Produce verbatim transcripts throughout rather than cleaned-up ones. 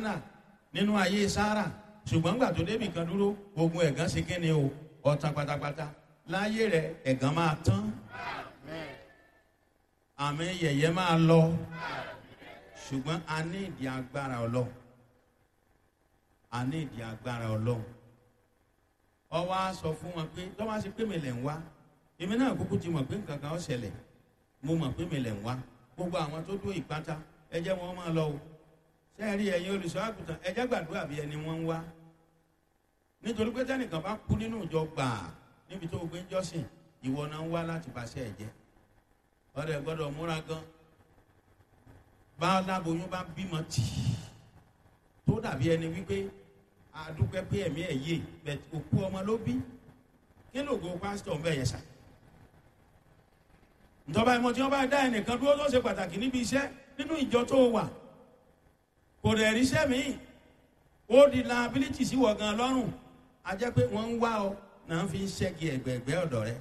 Hánà nínú ayé Sárà, ṣùgbọ́n gbà tó débì kan dúró, ogun ẹ̀gàn ṣe kí ni o, ọ̀tàn pátápátá láyé rẹ̀. Ẹ̀gàn máa tán, àmì yẹ̀yẹ́ máa lọ, ṣùgbọ́n a ní ìdí agbára Ọlọ́run, a ní ìdí agbára Ọlọ́run. Ọwọ́ á sọ fún wọn pé tọ́wọ́ á ṣe pé mi lẹ̀ ń wá, èmi náà kúkú ti mọ̀ pé nǹkan kan ó ṣẹlẹ̀. Mo mọ̀ pé mi lẹ̀ ń wá. Gbogbo àwọn tó dó ìpátá, ẹ jẹ́ wọn máa lọ o. Sẹ́ẹ̀rí ẹ̀yin olùṣọ́ àgùntàn, ẹ jẹ́ gbàdúrà bí ẹni wọ́n ń wá, nítorí pé tẹ́nìkan bá kú nínú ìjọ gbàá níbi tó o gbé ń jọ́sìn, ìwọ náà ń wá láti bàṣẹ ẹ̀ jẹ́. Ọ̀rẹ́ gbọ́dọ̀ múra gan. Bá láboyún bá bímọ tì í tó dàbí ẹni wípé àdúpẹ́ pé ẹ̀mí ẹ̀ yé bẹ̀, òkú ọmọ ló bí. Kí lóògùn pásítọ̀ ń bẹ̀ yẹn sà? Ntọ́ba ìmọ̀ tí wọ́n bá dá ẹnìkan dúró tó ṣe pàtàkì níbi iṣẹ́ nínú ìjọ tó wà, kò dẹ̀ ríṣẹ́ míì, ó di liability sí wọ̀ gan lọ́rùn. A jẹ́ pé wọ́n ń wá ọ náà fi ń ṣẹ́gi ẹ̀gbẹ̀ẹ̀gbẹ́ ọ̀dọ̀ rẹ.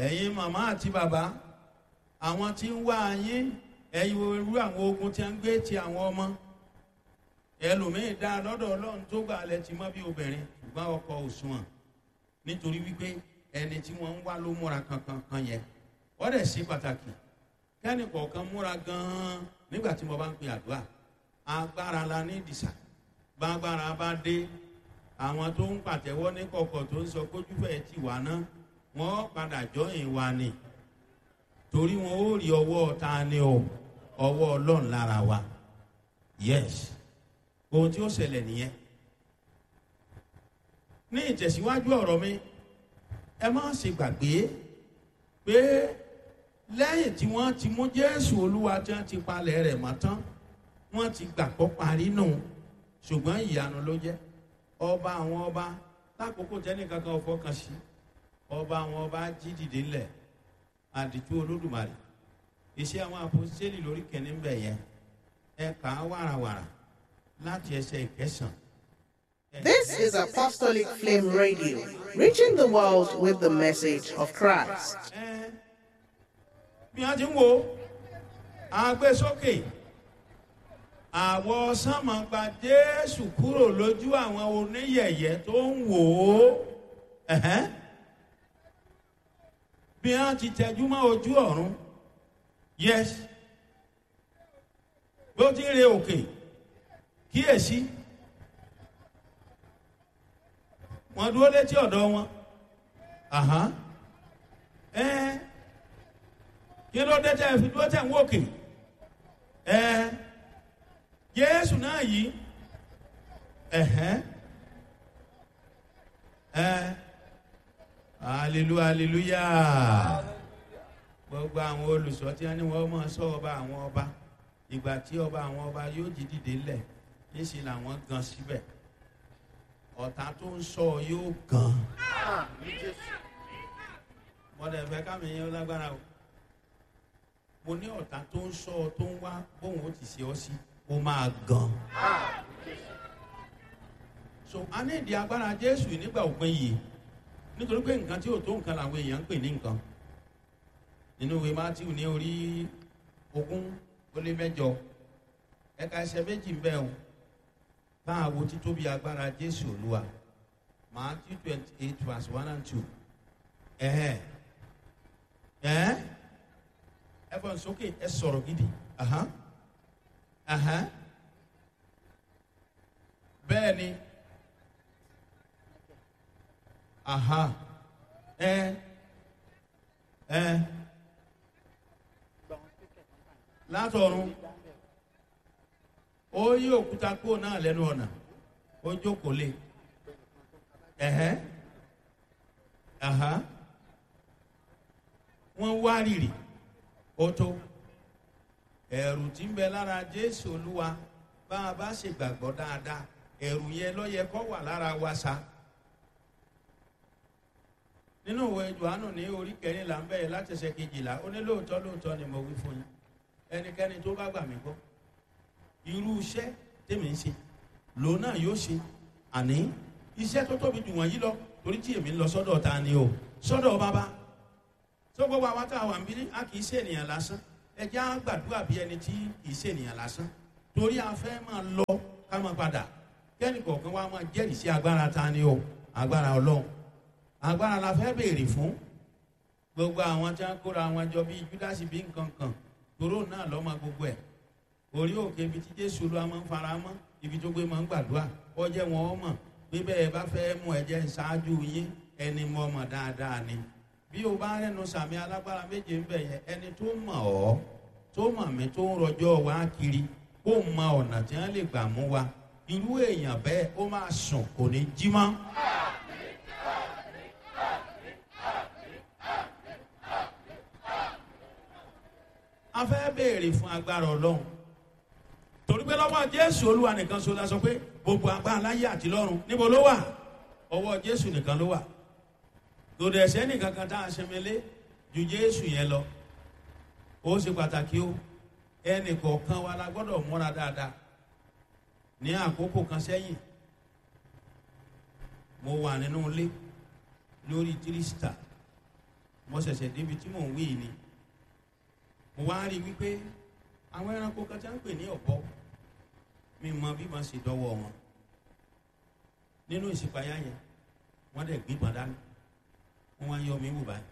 Ẹ̀yin màmá àti bàbá, àwọn tí ń wá yín, ẹ̀yin irú àwọn ogun tí a ń gbé ti àwọn ọmọ ẹlòmíín dá lọ́dọ̀ Ọlọ́run tó gbà lẹ ti mọ́ bí obìnrin, ṣùgbọ́n ọkọ òṣùwọ̀n, nítorí wípé ẹni tí wọ́n ń wá ló múra kankan kan yẹn. Wọ́n dẹ̀ ṣe pàtàkì kẹ́ni kọ̀ọ̀kan múra gan-an nígbà tí mo bá ń pe àdúrà. Agbára la ní ìdìsà. Bágbára bá dé, àwọn tó ń pàtẹ́wọ́ ní kọ̀kọ̀ tó ń sọ kójúfẹ́ ti wà náà, wọ́n padà jọyìn wa ni, torí wọn ó rí ọwọ́ ta ni o, ọwọ́ Ọlọ́run lára wa. Yes, ohun tí ó ṣẹlẹ̀ nìyẹn. Ní ìtẹ̀síwájú ọ̀rọ̀ mi, ẹ má ṣe gbàgbé pé lẹ́yìn tí wọ́n ti mú Jésù Olúwa tí wọ́n ti palẹ̀ rẹ̀ mọ́ tán, wọ́n ti gbàgbọ́ parí nù, ṣùgbọ́n ìyanu ló jẹ́. Ọba àwọn ọba, lákòókò tẹ́nìkan kan ò fọkàn sí, ọba àwọn ọba jí dìde ńlẹ̀. Àdìtú Olódùmarè, Iṣẹ́ Àwọn Àpọ́sítélì lórí kẹ́ni ń bẹ̀ yẹn, ẹ kà á wàràwàrà láti ẹsẹ̀ ìkẹsàn. This is Apostolic Flame Radio, reaching the world with the message of Christ. Ẹ bí wọ́n ti ń wo agbésókè, àwọ̀ sánmọ̀ gba Jésù kúrò lójú àwọn oníyẹ̀yẹ́ tó ń wò ó. Ẹ̀hẹ́n. Bí wọ́n ti tẹjú mọ́ ojú ọ̀run, yes, bó ti ń re òkè, kíyèsí, wọ́n dúró létí ọ̀dọ̀ wọn. Àhán. Ẹ kí ló dé tẹ́ fi dúró tẹ́ ń wòkè? Ẹ Jésù náà yìí. Ẹ̀hẹ́n. Ẹ hallelujah, hallelujah. Gbogbo àwọn olùṣọ́ tí wọ́n ní wọ́n máa sọ ọba àwọn ọba, ìgbà tí ọba àwọn ọba yóò jí dìde ńlẹ̀, níṣẹ́ làwọn gan síbẹ̀. Ọ̀tá tó ń sọ yóò gan. Mọ̀dẹ̀ fẹ́ kámi yẹn lágbára o. Mo ní ọ̀tá tó ń sọ, tó ń wá bóun ó ti ṣe ọ́ sí, ó máa gan. So a ní ìdí agbára Jésù nígbà òpin yìí, nítorí pé nǹkan tí ò tó nǹkan làwọn èèyàn ń pè ní nǹkan. Nínú ìwé Mátíù ní orí ogún ó lé mẹ́jọ, ẹ̀ka ẹsẹ̀ méjì ń bẹ o, bá a wo títóbi agbára Jésù Olúwa. Matthew twenty eight verse one and two. Ẹ̀hẹ́n, ẹ̀hẹ́n, ẹ fọ́n sókè, ẹ sọ̀rọ̀ gidi. Ahan, ahan, bẹ́ẹ̀ ni. Aha, ẹ ẹ látọ̀run, ó yí òkúta kúrò náà lẹ́nu ọ̀nà, ó jókòó lé. Ẹ̀hẹ́, aha, wọ́n wá rìrì. Ó tó ẹ̀rù tí ń bẹ lára Jésù Olúwa. Bá a bá ṣe gbàgbọ́ dáadáa, ẹ̀rù yẹn ló yẹ kó wà lára wa sa. Nínú ìwé Jòhánù ní orí kẹrìnlá ń bẹ̀rẹ̀ láti ẹsẹ̀ kejìlá, ó ní lóòótọ́ lóòótọ́ ni mo wí fún yín, ẹnikẹ́ni tó bá gbà mí gbọ́, irú iṣẹ́ tèmi ń ṣe lòun náà yóò ṣe, àní iṣẹ́ tó tóbi jù wọ̀nyí lọ, torí tí èmi ń lọ sọ́dọ̀ ta ni o, sọ́dọ̀ bàbá tó. Gbogbo àwọn tá a wà ń bí, a kì í ṣe ènìyàn lásán. Ẹ jẹ́ á gbàdúrà bí ẹni tí kì í ṣe ènìyàn lásán. Torí a fẹ́ máa lọ ká máa padà, kẹ́ni kọ̀ọ̀kan wa máa jẹ́rìí sí agbára ta ni o, agbára Ọlọ́run. Agbára la fẹ́ béèrè fún. Gbogbo àwọn tí wọ́n kóra wọn jọ bíi Júdásì bí nǹkan kan, toró náà lọ́mọ gbogbo ẹ̀. Orí òkè ibi tí Jésù Olúwa máa ń fara mọ́, ibi tó gbé máa ń gbàdúrà, ó jẹ́ wọn ó mọ̀ pé bẹ́ẹ̀ bá fẹ́ mú ẹ̀jẹ̀ ṣáájú yín, ẹni mọ̀ mọ̀ dáadáa ni. Bí o bá rẹ́nu sàmì alágbára méje ń bẹ̀ yẹn, ẹni tó mọ̀ ọ́, tó mọ̀ mí, tó ń rọjọ́ wa kiri, kó mọ ọ̀nà tí wọ́n lè gbà mú wa, irú èèyàn bẹ́ẹ̀ ó máa sùn, kò ní jí mọ́. A fẹ́ béèrè fún agbára Ọlọ́run, torí pé lọ́wọ́ Jésù Olúwa nìkan ṣoṣo la sọ pé gbogbo agbára láyé àti lọ́run níbo ló wà? Ọwọ́ Jésù nìkan ló wà. Lòdì ẹ̀sẹ̀ nìkan kan tá a ṣẹmẹlé ju Jésù yẹn lọ. Ó ṣe pàtàkì o, ẹnì kọ̀ọ̀kan wa la gbọ́dọ̀ múra dáadáa. Ní àkókò kan sẹ́yìn, mo wà nínú ilé lórí tírísítà, mo ṣẹ̀ṣẹ̀ débi tí mò ń wí ni mo wá rí wípé àwọn ẹranko kan tí wọ́n ń pè ní ọ̀bọ, mi mọ bí wọ́n ṣe dọ́wọ́ wọn nínú ìṣípayá yẹn. Wọ́n dẹ̀ gbígbọ́n dání, wọ́n wá ń yọ mí wò báyìí,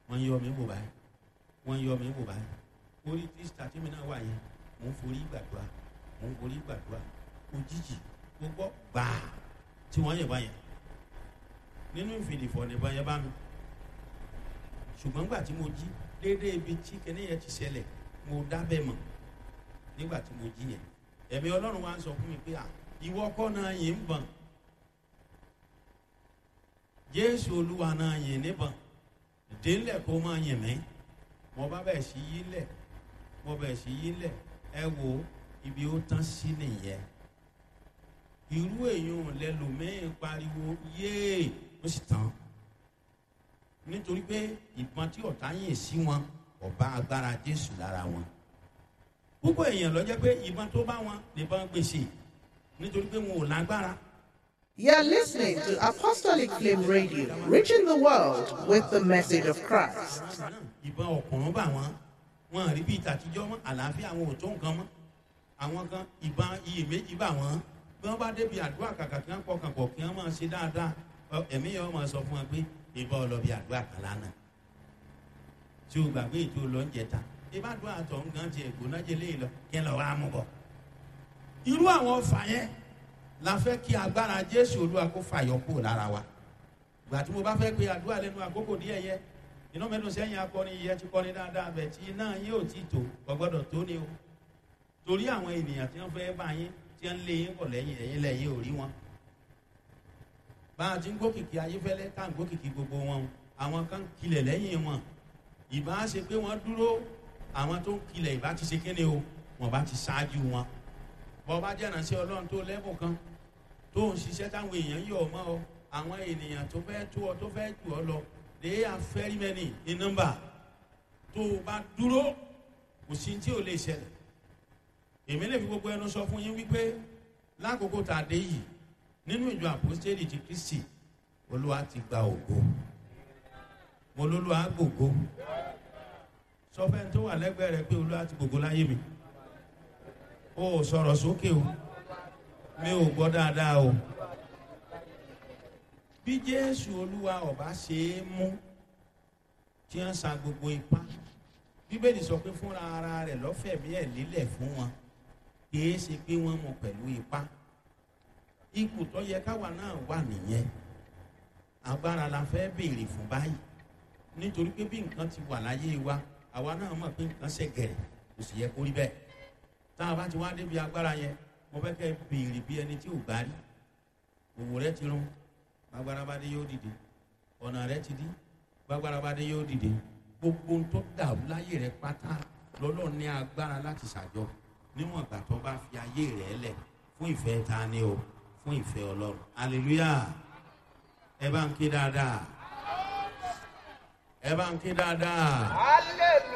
wọ́n ń yọ mí wò báyìí, wọ́n ń yọ mí wò báyìí. Orí tírísítà tí mi náà wà yẹn, mò ń forí gbàdúrà, mò ń forí gbàdúrà. Òjijì mo gbọ́ gbàá tí wọ́n yẹ̀ báyẹn nínú ìfìdìfọ̀ nìbọn yẹn bá mi. Ṣùgbọ́n gbà tí mo jí déédéé ibi tí kẹ́ni yẹn ti ṣẹlẹ̀, mo dábẹ́ mọ̀. Nígbà tí mo jí yẹn, ẹ̀mí Ọlọ́run wa ń sọ fún mi pé à, ìwọ kọ́ náà yìí ń bọ̀n, Jésù Olúwa náà yìí níbọ̀n, délẹ̀ kó máa yìn mí. Mo bá bẹ̀ sí yí lẹ̀, mo bẹ̀ sí yí lẹ̀. Ẹ wo ibi ó tán sí nìyẹn. Irú èèyàn lẹlòmíín pariwo yéè, ó sì tán, nítorí pé ìbọn tí ọ̀tá yìn sí wọn ọba agbára Jésù lára wọn. Púpọ̀ èèyàn ló jẹ́ pé ìbọn tó bá wọn nìbọn gbèsè, nítorí pé wọn ò lágbára. You're listening to Apostolic Flame Radio, reaching the world with the message of Christ. Ìbọn ọ̀kùnrin bá wọn, wọn rí bíi tàtijọ́ mọ́, àlàáfíà àwọn ò tó nǹkan mọ́. Àwọn kan ìbọn iyèméjì bá wọn. Bí wọ́n bá débi àdúrà, kàkà kí wọ́n pọkàn pọ̀ kí wọ́n máa ṣe dáadáa, ẹ̀mí yẹn wọ́n máa sọ fún wọn pé ìbọn ọlọ́bì àdúrà kan lánàá tí o gbàgbé ètò lọ́njẹta ìbádùn àtọ̀ nǹkan ti ẹ̀gbọ́n jẹlé lọ kí n lọ wá mú bọ̀. Irú àwọn ọfà yẹn la fẹ́ kí agbára Jésù Olúwa kó fàyọ kúrò lára wa. Ìgbà tí mo bá fẹ́ pe àdúrà lẹ́nu àkókò díẹ̀ yẹ, iná mẹ́nu sẹ́yìn akọrin yẹ ti kọrin dáadáa bẹ̀ tí iná yín ò ti tò, kò gbọ́dọ̀ tó ni o. Torí àwọn ènìyàn tí wọ́n fẹ́ bá yín, tí wọ́n lé yín bọ̀ lẹ́yìn, ẹ̀yìn lẹ́yìn ò rí wọn. Bá a ti ń gòkìkì Ayéfẹ́lẹ́ tá à ń gòkìkì gbogbo wọn, àwọn kan kilẹ̀ lẹ́yìn wọn. Ìbá ṣe pé wọ́n dúró, àwọn tó ń kilẹ̀ ìbá ti ṣe kéde o, wọ́n bá ti ṣáájú wọn. Bọ́ bá jẹ́ ìránṣẹ́ Ọlọ́run tó lẹ́bùn kan tó ń ṣiṣẹ́ táwọn èèyàn yọ̀ mọ́ ọ, àwọn ènìyàn tó fẹ́ tó ọ, tó fẹ́ jù ọ lọ, they are very many in number. Tó o bá dúró, kò sí tí ò lè ṣẹlẹ̀. Èmi lè fi gbogbo ẹnu sọ fún yín wípé lákòókò tá a dé yìí nínú ìjọ Àpọ́stélì ti Kristi, Olúwa ti gba ògo. Mo lólúwa gbògo. Sọ fẹ́ni tó wà lẹ́gbẹ̀ẹ́ rẹ pé Olúwa ti gbògo láyé mi. O ò sọ̀rọ̀ sókè o, mi ò gbọ́ dáadáa o. Bí Jésù Olúwa ọba ṣe é mú tí wọ́n sa gbogbo ipá, Bíbélì sọ pé fúnra ara rẹ̀ lọ́fẹ̀mí ẹ̀ lílẹ̀ fún wọn, kì í ṣe pé wọ́n mú pẹ̀lú ipá. Ipò tó yẹ káwa náà wà nìyẹn. Agbára la fẹ́ béèrè fún báyìí, nítorí pé bí nǹkan ti wà láyé wa, àwa náà mọ̀ pé nǹkan ṣẹ̀gẹ̀rẹ̀, kò sì yẹ kó rí bẹ́ẹ̀. Tá a bá ti wá débi agbára yẹn, mo fẹ́ kẹ́ béèrè bí ẹni tí ò gbá rí. Òwò rẹ ti rún, gbàgbára bá dé yóò dìde. Ọ̀nà rẹ ti dí, gbàgbára bá dé yóò dìde. Gbogbo ohun tó dàrú láyé rẹ pátá lọ́lọ́ ní agbára láti ṣàjọ, níwọ̀n ìgbà tó bá fi ayé rẹ lẹ̀ fún ìfẹ́ ta ni o, fún ìfẹ́ Ọlọ́run. Hallelujah. Ẹ bá ń ké dáadáa, ẹ bá ń ké dáadáa. Hallelujah.